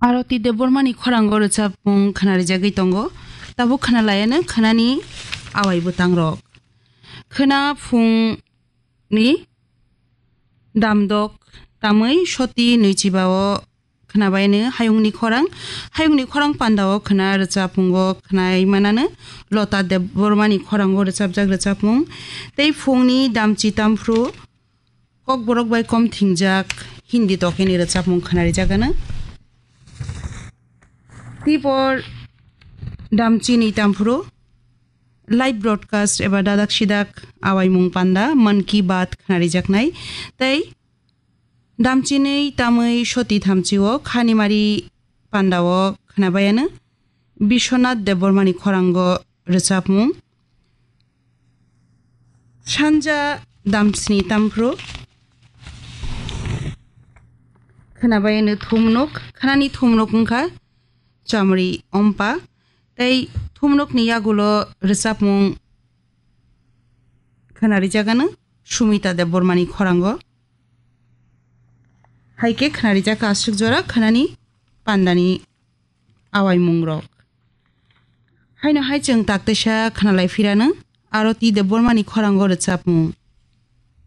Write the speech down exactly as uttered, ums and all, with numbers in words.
Aroti Debbarmani khorango rwchapmung khwnarijagwi tongo. Tabuk khwnalayano khwnani awai bwtangrok. Khwna phungni damdok tamwi soti nwichibao khwnabaino hayungni khorang. Hayungni khorang pandao khwna rwchapmungo khwnai manano Lota Debbarmani khorango rwchapjak rwchapmung. Tei phungni damchi tamphru Kokborok bai kom thingjak Hindi tokeni rwchapmung khwnarijagano. Tibor damchini tamphuru live broadcast eba dadak sidak awaimung panda Mann Ki Baat khwnarijaknai. Tei damchini tamwi soti thamchio khanimari pandao khwnabayano Biswanath Debbarmani khorango rwchapmung. Sanja damsni tamphru khwnabayano thumnuk, khwnani thumnuk wngkha Chamri Ompa, tei thumnukni yagulo rwchapmung khwnarijagano Sumita Debbarmani khorango. Hai khe khwnarijak aswk jora khwnani pandani awaimungrok. Haino hai chwng taktaisa khwnalai phirano Aroti Debbarmani khorango rwchapmung.